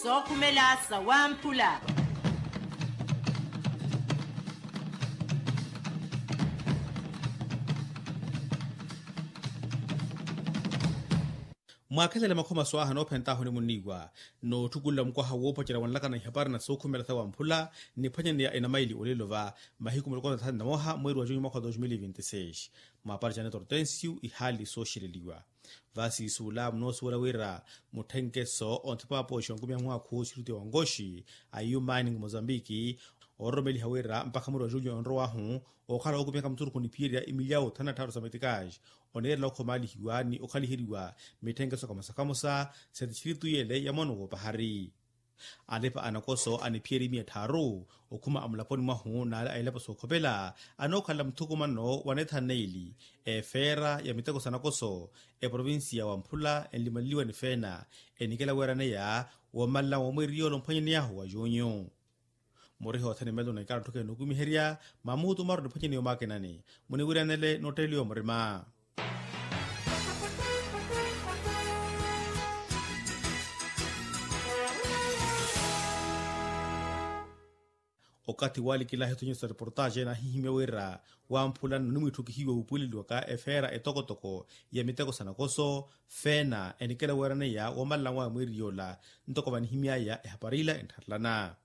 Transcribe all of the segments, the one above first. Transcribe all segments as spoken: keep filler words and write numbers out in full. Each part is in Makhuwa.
Sookhumela sawamphula. Mwaakhelele makhoma swaaha noophentaahu ni munniiwa, nootthukulela mukwaha woopacerya wanlakana ihapari na sookhumela sawamphula, niphwanyaneya enamaili olelo va mahiku miloko thanu na moha mweeri wa junyu mwaka wa dos mil e vinte e seis. Mwaapari janeto hortensio ihaali sooxeleliwa. Vasiisuula munoosuwela wira mutthenkeso onthipa apooxi onkumiha mwaakhu sirutiya wa nkoxi a eu mining mozambiki, oororomeliha wira mpakha mweeri wa julyo onrow'ahu okhala ookupihaka musurukhu niphiyerya imilyawu thanu na tthaaru sa metikaaxi, oneerela okhomaalihiwa ni okhaliheriwa mitthenkeso kamosa kamosa sa tistritu yele ya mwaano woopahari. Alipa anakoso aniphiyerya imiya tthaaru okhuma amulaponi mwahu n'ale a ilapo sookhopela anookhalela muthukumano wa neetha neili, efeera ya miteko sa nakoso, eprovinsiya wa mphula enlimaleliwa ni feena enikela weeraneya woomalala wa mweeri yoola omphwanyaneyahu wa junyu. Muriha othene melo na ikala tthukene nookumiherya mamuutu maru niphwanyaneya omwakinani muniwiranele nootteleliwa murima. Okathi waalikilahi ethonyero sa reportaxe naahihimya wira wamphula nno nimwiitthukihiwa wuupuweleliwaka efeera etokotoko ya miteko sa nakoso, feena enikela weeraneya woomalala wa mweeri yoola ntoko vanihimy'aya ehapari ila enttharelana.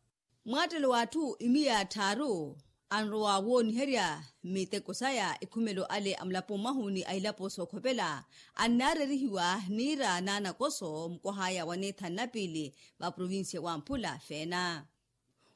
Mwaattelo w'atthu imiya tthaaru anrowa wooniherya miteko saya ikhumelo ale a mulaponi mwahu ni a ilapo sookhopela, annaarerihiwa niira n'anakoso mukwah'aya wa neetha na piili va provinsiya wamphula feena.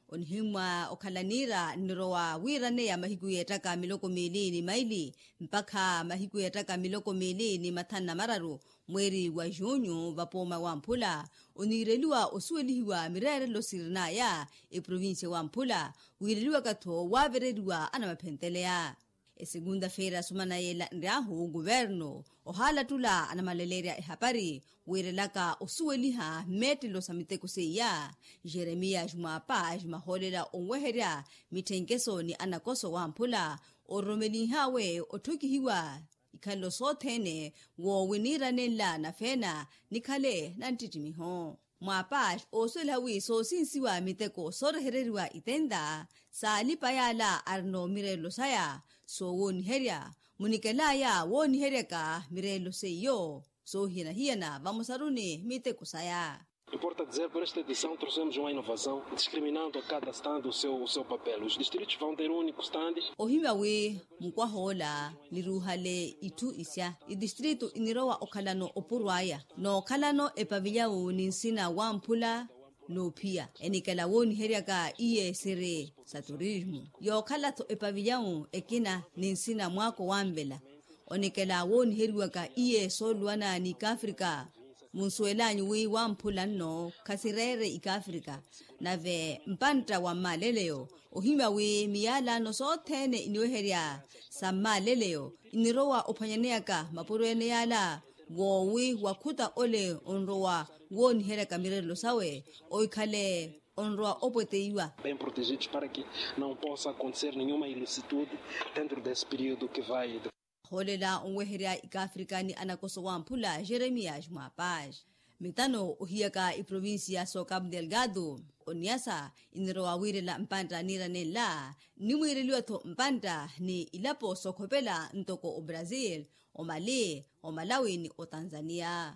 Onihimmwa okhala niira nnirowa wiiraneya mahiku yeettaka miloko miili ni maili mpakha mahiku yeettaka miloko miili ni mathanu na mararu mweeri wa junyu vapooma wamphula, oniireliwa osuwelihiwa mireerelo sirin'aya eprovinsiya wamphula, wiireliwaka-tho waavereriwa anamaphenteleya. Esegunta-feira sumana yeela nry'ahu kuvernu ohaalattula anamalaleerya ehapari wiirelaka osuweliha mmeettelo sa miteko seiya, jeremiya jumwapa jumahoolela onweherya mitthenkeso ni anakoso wamphula, ororomelinh'awe otthukihiwa ikhalelo sothene woowi niira nenla na feena nikhale na nttittimiho. Mwaapaxi oosuweliha wi soosinsiwa miteko soorehereriwa itenta saalipa yaala arina omireerelo saya soowooniherya, munikel'aya wooniheryaka mireerelo seiyo soohiyana-hiyana vamosaru ni miteko saya. Importa dizer por esta edição trouxemos uma inovação discriminando a cada estando o seu papel os distritos vão ter um único estande. Ohimya wi mukwah'ola niruuhale itthu isya itistritu inirowa okhalano opurw'aya nookhalano epavilyawu ni nsina wamphula, noophiya enikela wooniheryaka iye siri sa turismu yookhala-tho epavilyawu ekina ni nsina mwaako wanvela. Onikela wooniheriwaka iye sooluwana ni ikafrika munsuwel'anyu wi wamphula nno khasireere ikafrika. Nave mpantta wa mmaaleleyo ohimya wi miyalano sothene iniweherya sa mmaaleleyo inirowa ophwanyaneyaka mapuro ene yaala woowi wakhuta ole onrowa wooniheryaka mireerelo sawe oikhale onrowa opweteiwa. Bem protegidos para que não possa acontecer nenhuma ilicitude dentro desse período que vai. Ahoolela onweherya ikafrika ni anakoso wamphula jeremias mwapaj. Mitano ohiyaka iprovinsiya so cabo delgado oniyasa inirowa wiirela mpantta niira nenla nimwiireliwa-tho mpantta ni ilapo sookhopela ntoko obrazil, omali, omalawi ni otanzaniya.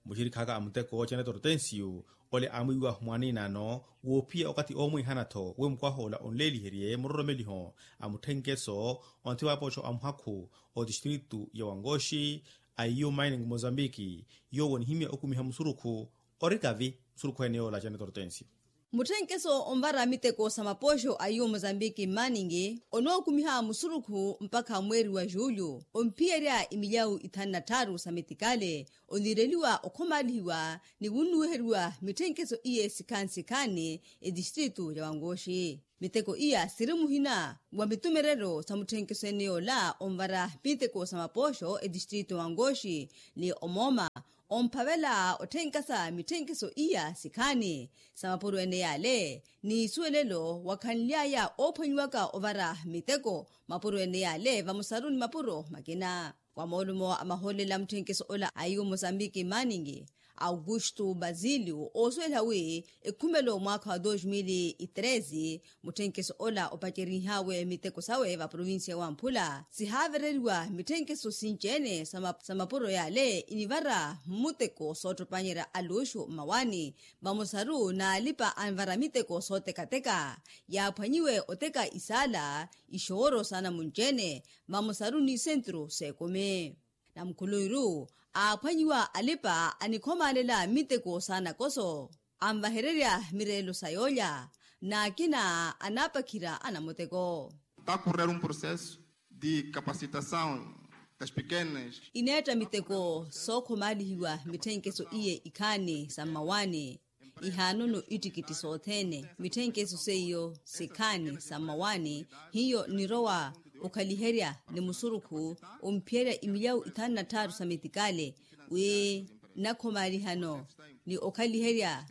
Muxirikhaka a muteko janet hortensio ole aamwiiwahu mwaaniinano woophiya okathi oomwiihana-tho wi mukwah'ola onleeliherye muroromeliho a mutthenkeso onthi wapooxo a muhakhu otistritu ya wangoxi a eu mining mozambiki. Yoowo onihimya okumiha musurukhu ori kavi musurukhu ene yoola janet hortensio. Mutthenkeso onvara miteko sa mapooxo a eu mozambiki mining onookumiha musurukhu mpakha mweeri wa julyo omphiyerya imilyawu ithanu na tthaaru sa metikale oniireliwa okhomaalihiwa ni wunnuweheriwa mitthenkeso iye sikhaani sikhaani etistritu ya wangoxi. Miteko iya siri muhina wa mitumereryo sa mutthenkeso ene yoola onvara miteko sa mapooxo etistritu ya wangoxi ni omooma omphavela otthenka sa mitthenkeso iya sikhaani sa mapuro ene yale ni isuwelelo wakhanly'aya oophwanyiwaka ovara miteko mapuro ene yale vamosaru ni mapuro makina. Wa moolumo a mahoolela a mutthenkeso ola a eu mosambiki manning Augusto basilio oosuweliha wi ekhumelo mwaakha wa dos mil e treze, mutthenkeso ola opacerihaawe miteko sawe va provincia ya wamphula sihaavereriwa mitthenkeso sinci-ene sa mapuro yale inivara mmuteko soottopanyerya aluxu mmawaani. Vamosaru n'alipa anvara miteko sootekateka yaaphwanyiwe oteka isaala ixooro sa namunci-ene vamosaru ni sentru s'ekumi. Namukhuluwiru aaphwanyiwa alipa anikhomaalela miteko sa nakoso anvahererya mireelo sa yoolya n'akina anaapakhira anamuteko. Takurrera un processo de capacitação das pequenas. Ineetta miteko sookhomaalihiwa mitthenkeso iye ikhaani sa mmawaani ihaanono ittikitti sothene mitthenkeso seiyo sikhaani sa mmawaani. Hiyo nirowa okhaliherya ni musurukhu omphiyerya imilyawu ithanu na tthaaru sa metikale wi nnakhomaalihano ni okhaliherya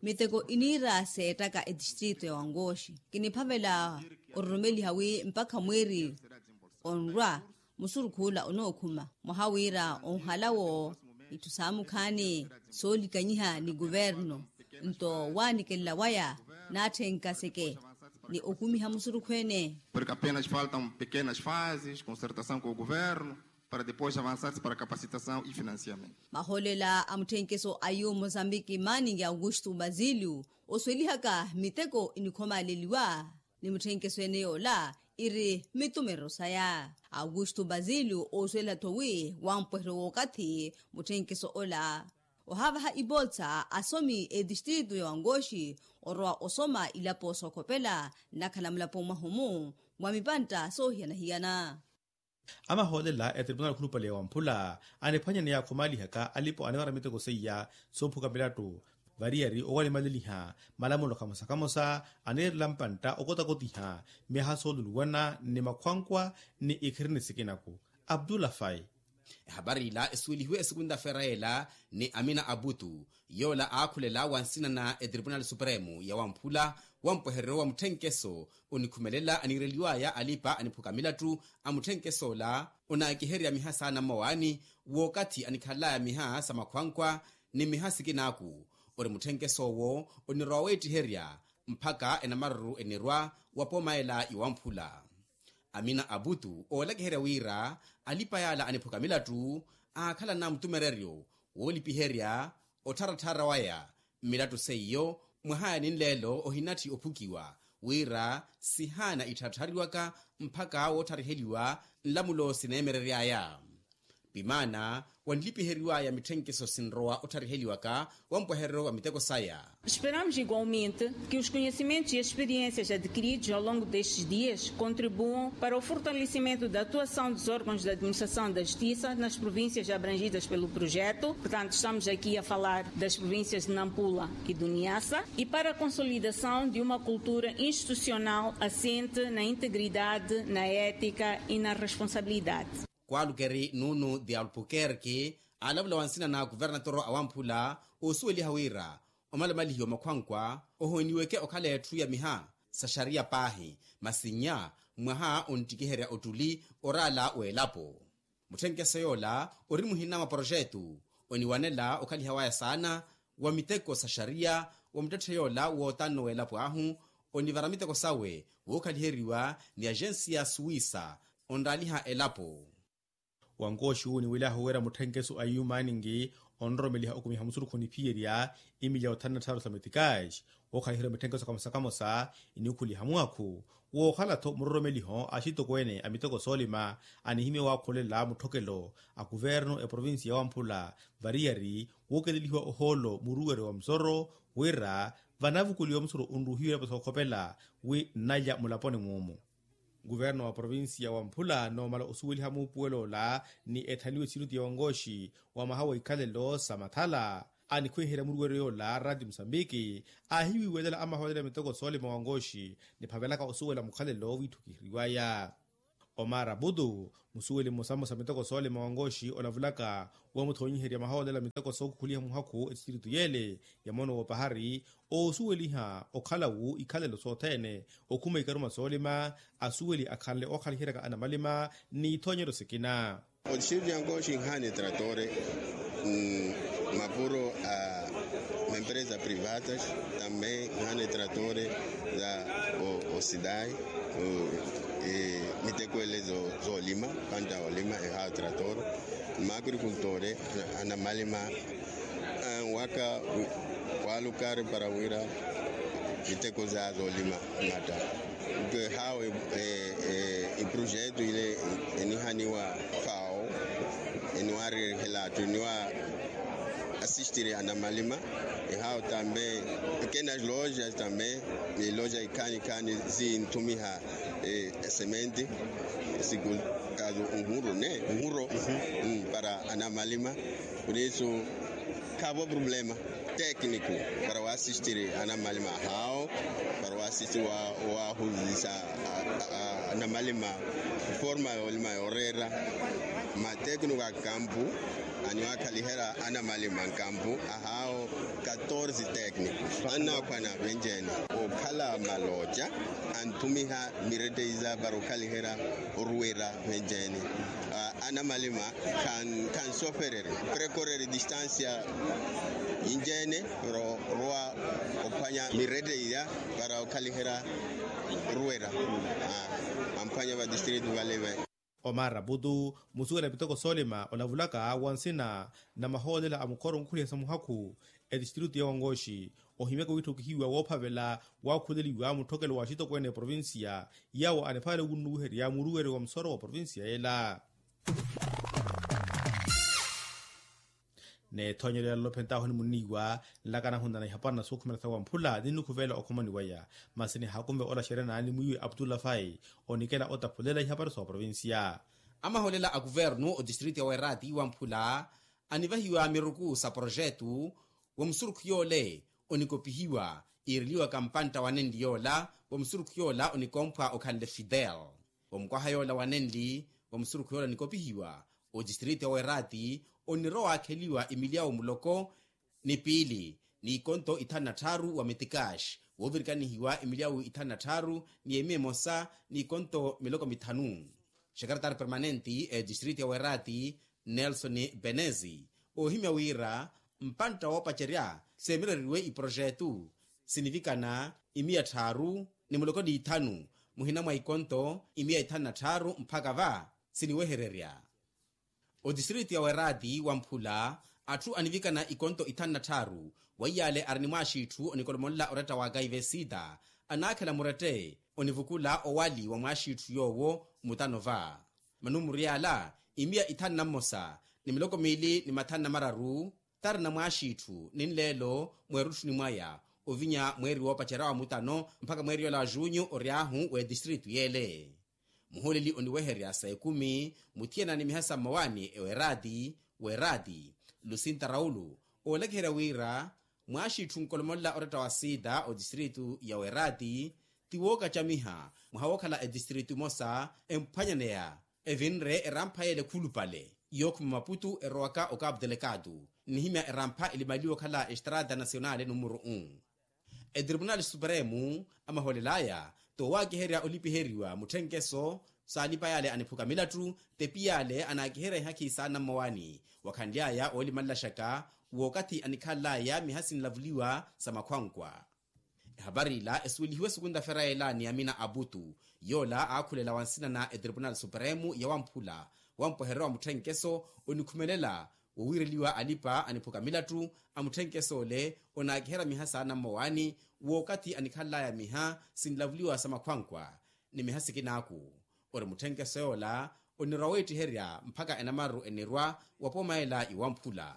miteko iniira seettaka etistritu ya wankooxi. Kiniphavela ororomeliha wi mpakha mwiiri onrwa musurukhu ola onookhuma mwaha wira onhalawo itthu saamukhaani soolikanyiha ni kuvernu nto waanikelela waya naatthenka seke ni okumiha musurukhu ene. Porke apenas faltam pekenas fazes consertasaw ku guvernu para depois avansar-se para capacitasaw e financiamento. Mahoolela a mutthenkeso a yu mosambiki manning augusto basilio osuwelihaka miteko inikhomaaleliwa ni mutthenkeso ene yoola iri mmitumerero saya. Augusto basilio oosuwela-tho wi wampweheryo w'okathi mutthenkeso ola ohaavaha ipolsa asomi etistritu ya wankooxi orowa osoma ilapo sookhopela nnakhala mulapo mwahumu mwa mipantta soohiyana-hiyana. Amahoolela etribunali khulupale ya wamphula aniphwanya ni yaakhomaalihaka alipo anivara miteko seiya soophuka milattu variyari owalimaleliha malamulo kamosa-kamosa aniirela mpantta okotakotiha myaha sooluluwana ni makhwankwa ni ikhirini sikinaku. Abdullah fai. Ehapari ila esuwelihiwe esikunta feera ela ni amina abutu yoola aakhulela wa nsina na etripunali supremu ya wamphula wa mpwehereryo wa mutthenkeso onikhumelela aniireliwaya alipa aniphuka milattu a mutthenkeso ola onaakiherya miha saana mmawaani w'okathi anikhalalaya miha sa makhwankwa ni miha sikinaaku ori mutthenkeso owo onirowa weettiherya mphaka enamaruru enirwa wa pooma ela iwamphula. Amina abutu oolakiherya wira alipa yaala aniphuka milattu aakhalana mutumereryo woolipiherya ottharatthara waya mmilattu seiyo mwaha ya ninleelo ohinatthi ophukiwa wira sihaana ittharatthariwaka mphaka woothariheliwa nlamulo sineemereryaya. Pimaana wanlipiheriwaya mitthenkeso sinrowa othariheliwaka wa mpweherero wa miteko saya. Esperamos igualmente que os conhecimentos e experiências adquiridos ao longo destes dias contribuam para o fortalecimento da atuação dos órgãos da administração da justiça nas províncias abrangidas pelo projeto. Portanto, estamos aqui a falar das províncias de Nampula e do Niassa e para a consolidação de uma cultura institucional assente na integridade, na ética e na responsabilidade. Kwalukeri nunu de albuquerque alavula wa nsina na kuvernatoro awamphula osuweliha wira omalamalihiwa makhwankwa ohooniweke okhala etthu ya miha sa xariya paahi masi nnya mwaha onttikiherya ottuli oraala w'elapo. Mutthenkeso yoola ori muhina mwa poroxetu oniwanela okhaliha waya saana wa miteko sa xariya wa muttetthe yoola wootanno w'elapo ahu onivara miteko sawe wookhaliheriwa ni agensiya suwisa onraaliha elapo. Wankooxi wu oniwelyahu wira mutthenkeso a yu maaningi onroromeliha okumiha musurukhu oniphiyerya imilya othanu na tthaaru sa metikaaxi wookhaliheriwa mitthenkeso kamosa-kamosa inikhuliha mwakhu wookhala-tho muroromeliho axitokweene a miteko soolima anihimye waakhoolela mutthokelo a kuvernu eprovincia ya wamphula variyari wookelelihiwa ohoolo muruweryo wa musoro wira vanavukuliwa musoro onruhiwa elapo sookhopela wi nnalya mulaponi muumu. Kuverno wa provincia wa mphula noomala osuweliha muupuwelo ola ni ethaniwe siriti ya wankooxi wa maha wa ikhalelo sa mathala anikhwiherya muruweryo yoola rati musambiki aahiwiiwelela amahoolela miteko soolima wankooxi niphavelaka osuwela mukhalelo wiitthukiheriwaya. Omar abutu musuweli mmosa mmosa miteko soolima wankooxi olavulaka wamuthoonyiherya mahoolela miteko sookhukhuliha muhakhu esisiritu yeele ya moono w'opahari oosuweliha okhalawu ikhalelo sothene okhuma ikaruma soolima asuweli akhanle ookhaliheryaka anamalima n'ithoonyeryo sikina. Odistritu ya nkooxi inhaani etratore. Mapuro a empresas privadas tambe nhana etratore za osidai, miteko ele zolima panta olima ehawo trator. Makrikultore anamalima waka walukari para wira miteko za zolima mata. Ehawo iprojeto ile enihaniwa fao eniwarihela athu eniwa asistiri anamalima. Ehawo tambe ekena loja tambe, loja ikhani khani zinthumiha esementi siku kazu nhuro ne nhuro para anamalima. Por isso khavo problema técnico para waasistiri anamalima ahawo, para waasistiri wahuzisa anamalima forma yolima yorera. Matécnico a campo aniwakhalihera anamalima nkampu ahawo katorze técnico. Annakhwana venjene okhala maloca anthumiha mireteiza para okhalihera oruwera venjene. Anamalima khansofereri prekoreri distancia yinjene para orwa ophwanya mireteiza para okhalihera oruwera amphwanya vadistritu vale. Omar abutu musuwela miteko soolima olavulaka wa nsina na mahoolela a mukhoro onkhuliha sa muhakhu etistritu ya wangoxi ohimyaka wiitthokihiwa woophavela waakhuleliwa mutthokelo wa axitokweene eprovincia yawo anipale wunnuwiherya muruweri wa musooro wa provincia yela. N'ethoonyelo ya lolophentaho nimunniiwa nlakana hunana ihapwana na suukhumela sa wamphula ni nukhuveela okhomoni waya. Masi nihakume ola xerena ni mwiiwe aptula fai onikela otaphulela ihapari sa oprovincia. Amahoolela a kuvernu otistritu ya weerati wamphula anivahiwa miruku sa projetu wa musurukhu yoole onikopihiwa iireliwaka mpantta wa nenli yoola wa musurukhu yoola onikomphwa okhanle fidel. Wa mukwaha yoola wa nenli wa musurukhu yoola nikopihiwa otistritu ya weerati onirowa waakheliwa imilyawu muloko ni piili n'ikonto ithanu na tthaaru wa metikaxi woovirikanihiwa emilyawu ithanu na tthaaru ni emiya emosa n'ikonto miloko mithanu. Xekaretari permanenti etistritu ya weerati nelson benezi oohimya wira mpantta woopacerya seemireriwe iprojetu sinivikana imiya tthaaru ni muloko n'ithanu muhina mwa ikonto imiya ithanu na tthaaru mpakha va siniwehererya. Otistritu ya weerati wamphula atthu anivikana ikonto ithanu na tthaaru weiyaale ari ni mwaaxitthu onikolomolela oretta wa kaivesita anaakhela murette onivukula owali wa mwaaxitthu yoowo mutano va manumuru yaala imiya ithanu na mmosa ni miloko miili ni mathanu na mararu tarina mwaaxitthu ni nleelo mweerutthuni mwaya ovinya mweeri woopacerya wa mutano mpakha mweeri yoola wa junyu ory'ahu w'etistritu yeele. Muhooleli oniweherya sa ekumi muthiyana ni miha sa mmawaani eweerati weerati lusinta raulu oolakiherya wira mwaaxitthu onkolomolela oretta wa sita otistritu ya weerati ti wookacamiha mwaha wookhala etistritu emosa emphwanyaneya evinre erampha yeele khulupale yookhuma maputu erowaka okapu telekatu nnihimya erampha elimaliwa okhala estrata nasionale numuru u. Etripunali supremu amahoolel'aya toowakiherya olipiheriwa mutthenkeso saalipa yale aniphuka milattu tepi yale anaakiherya ihakhi saana mmowaani wakhanly'aya oolimanlaxaka w'okathi anikhanl'aya miha sinlavuliwa sa makhwankwa. Ehapari ila esuwelihiwe sukunta-fera yela ni amina aputu yoola aakhulela wa nsina na etripunali supremu ya wamphula wampwehererya wa mutthenkeso onikhumelela wowiireliwa alipa aniphuka milattu a mutthenkeso ole onaakiherya miha saana mmowaani w'okathi anikhanl'aya miha sinlavuliwa sa makhwankwa ni miha sikinaaku ori mutthenkeso yoola onirwa weettiherya mpakha enamaru enirwa wa pooma yela iwamphula.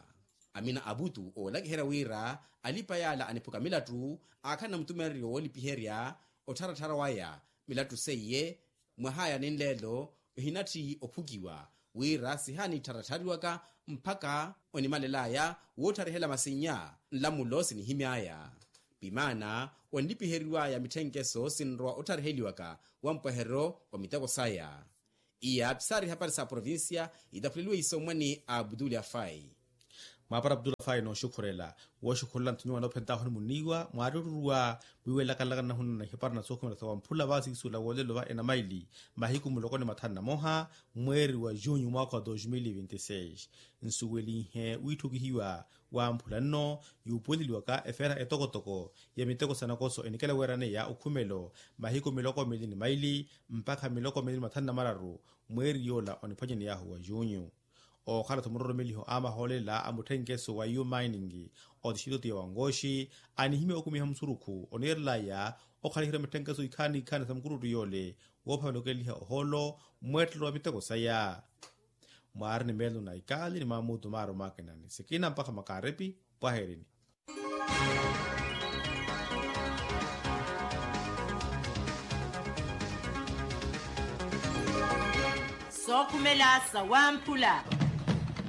Amina aputu oolakiherya wira alipa yaala aniphuka milattu aakhanna mutumereryo woolipiherya ottharatthara waya milattu seiye mwah'aya ni nleelo ohinatthi ophukiwa wira sihaanittharatthariwaka mpakha onimalel'aya wootharihela masinnya nlamulo sinihimy'aya pimaana onlipiheriw'aya mitthenkeso sinrowa otthariheliwaka wa mpweherero wa miteko saya. Iya phisari hapari sa provincia itaphuliwe isomwa ni abduli afai. Mwaapara abdullah fayi nooxukhurela wooxukhurela nthu nyuwa noophentaahoni muniiwa mwaari oruruwa mwiiwelakalakanahuna na ihipara na sookhumela sa wamphula vaasi kisuula woolelo va enamaili mahiku muloko ni mathanu na moha mweeri wa junyu mwaakha wa dos mil vinti seis. Nsuwelinhe wiitthukihiwa wamphula nno yuupuweleliwaka efeera etokotoko ya miteko sa nakoso enikela weeraneya okhumelo mahiku miloko mili ni maili mpakha miloko mili ni mathanu na mararu mweeri yoola oniphwanyaney'ahu wa junyu. Ookhala-tho muroromeliho a mahoolela a mutthenkeso wa iu mining otixitutu ya wangoxi anihimya okumiha musurukhu oniirelaya okhalihira mutthenkeso ikhaani ikhaani sa mukurutu yoole woophavelokeliha ohoolo mweettelo wa miteko saya. Mwaari ni meelo na ikaali ni maamuutu maari omwakinani sikina mpakha makaarepi. Pwaherini. Sookhumela sa wamphula.